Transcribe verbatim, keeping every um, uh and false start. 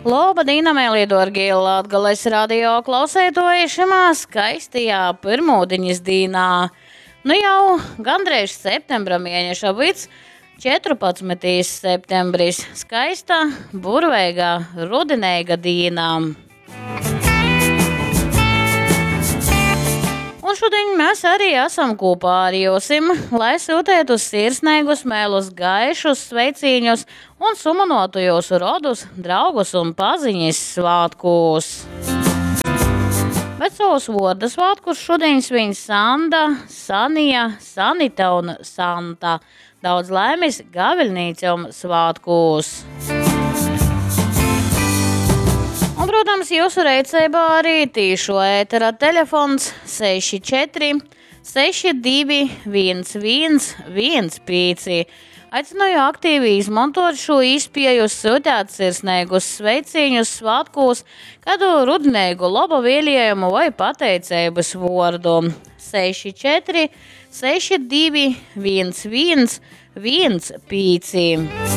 Loba dīna, meilī dōrgī Latgales radio klauseitoji šymā skaistajā pyrmūdiņas dīnā. Nu jau gandreiž septembra mieneša vyds, četrpadsmytais septembris. Skaista, burveiga, rudineiga dīna. Un šodien mēs arī esam kopā ar jums, lai sūtētu sirsnīgus, mēlus, gaišus sveicīņus un sumanotu jūsu rodus, draugus un paziņas svētkos. Bet savus vārda svētkus šodien svin Sanda, Sanija, Sanita un Santa. Daudz laimes gaviļnīcam svētkos! Un, protams, jūsu rīcībā arī tīšo ētera telefons seši četri seši divi viens viens viens pieci. Aicinu aktīvi izmantot šo iespēju, sūtīt sirsnīgus sveicienus svētkos, kādu rudinīgu laba vēlējumu vai pateicības vārdu. seši četri seši divi viens viens viens pieci.